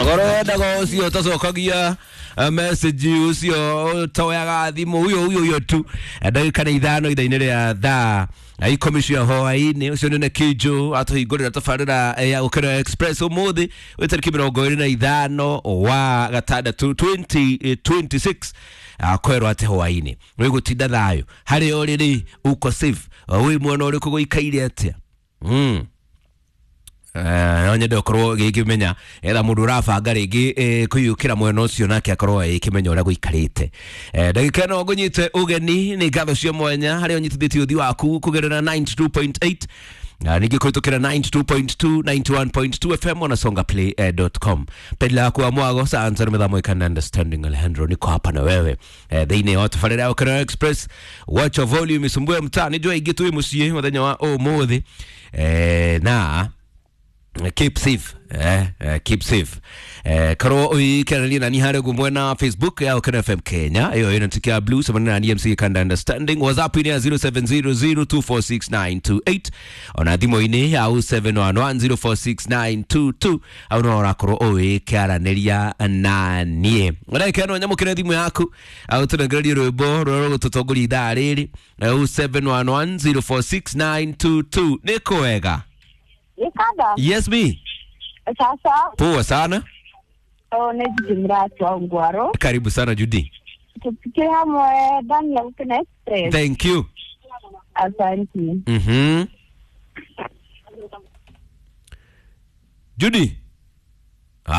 Goro wendaga ũcio ũtacokagia message, ũcio ũtoyaga thimũ, huyo huyo huyo tu. Ndagĩka nĩ 5 ithaa-inĩ rĩa thaa 10 cia hwaĩ-inĩ. Ũcio nĩ Nekijo atũhingũrĩra tabarĩra ya Gũkĩra Express ũmũthĩ wĩ tarĩki 25 wa gatandatũ 2026. Kwĩrwo atĩ hwaĩ-inĩ wĩ gũtinda thayũ harĩa ũrĩ rĩ, uko safe, wĩ mwena ũrĩkũ, gũikaire atĩa? No nyende ũkorwo gĩkĩmenya etha mũndũ ũrabanga rĩngĩ kũiyũkĩra mwena ũcio nake akorwo ĩkĩmenya ũrĩa gũikarĩte. Ndagĩka ĩno ngũnyite ũgeni nĩ ngatho cia mwanya harĩa ũnyitithĩtie ũthi waku kũgerera 92.8 na ningĩ kũhĩtũkĩra 92.2, 91.2 FM na songaplay.com. Pedla yaku wa mwago saanza mĩthamo ikana understanding. Alejandro, niko hapa na wewe thĩinĩ wa tabarĩra ya Ũkĩra Express. Wacha volume isumbue mtaa, nĩnjũĩ aingĩ twĩ mũciĩ mũthenya wa ũmũthĩ, na keep safe, keep safe. Korwo uikerania nani harĩa ũguo mwena Facebook ya Ũkĩra FM Kenya, ĩyo ĩna tick ya blue samana na MC Kanda understanding. WhatsApp inĩ ya 0700246928, ona thimũ-inĩ ya 0711046922, au no ũrakorwo ũgĩkĩaranĩria na niĩ. Ndagĩka ĩno nyamũkĩre thimũ yaku au tũnengererie rwĩmbo rũrĩa rũgũtũtongoria ithaa rĩrĩ, 0711046922. Nĩ kwega? Ikada. Yes me. Sasa. Poa sana. Oh, nĩ Judy Mratu wa Ngwaro. Karibu sana, Judy. Tupikie hamwe ndani ya Gũkena Express. Thank you. Asante. Judy.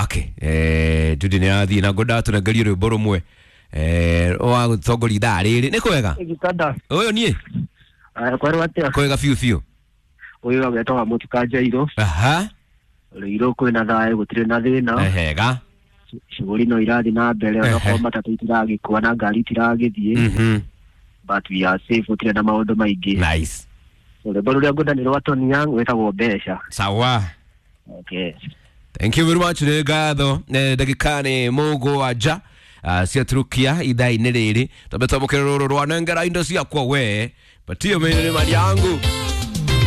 Okay. Judy nĩ athiĩ na ngwendaga tũnengerie rwĩmbo rũmwe wa gũtongoria ithaa rĩrĩ. Nĩ kwega? Gikanda. Ũyũ niĩ. Kwerwo atĩa? Kwega biũ biũ. Ũyũ agetagwa Mũtuka Njairũ. Aha. Rũirũ kwĩna thayũ, gũtirĩ na thĩna. Hega. Shughuli no irathiĩ na mbere, onakorwo matatũ itiragĩkua na ngari itiragĩthiĩ, but we are safe, gũtirĩ na maũndũ maingĩ. Nice. Rwĩmbo rũrĩa ngwenda nĩ rwa Tony Young wĩtagwo Mbeca. Sawa. Okay. Thank you very much, nĩ ngatho. Ndagĩka nĩ 7 ciaturukia ithaa-inĩ rĩrĩ, twambe twamũkĩre rũrũ rwa nengera indo ciakwa we patio mĩnĩ nĩ mali yangu.